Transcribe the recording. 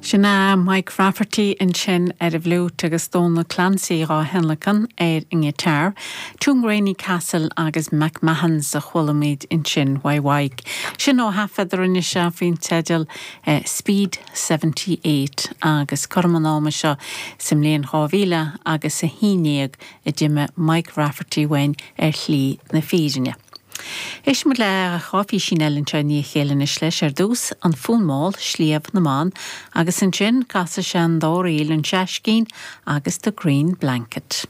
Sin é Mike Rafferty ansin ar an bhfliúit agus Dónal Clancy dhá thionlacan ar an ngiotár. Tuamgraney Castle agus McMahon's a chuala muid ansin uaidh Mhaidhc. Sin ó thaifead a rinne sé faoin teideal Speed 78 agus cothrom an ama seo sa mbliain 2000 agus 11 a d'imigh Mike Rafferty uainn ar shlí na fírinne. Éistfidh muid le dhá phísín eile anseo i ndiaidh a chéile anois leis, ar dtús, An Fonn Mall, Sliabh na mBan, agus ansin casfaidh sé an dá ríl, An Seaiscín agus The Green Blanket.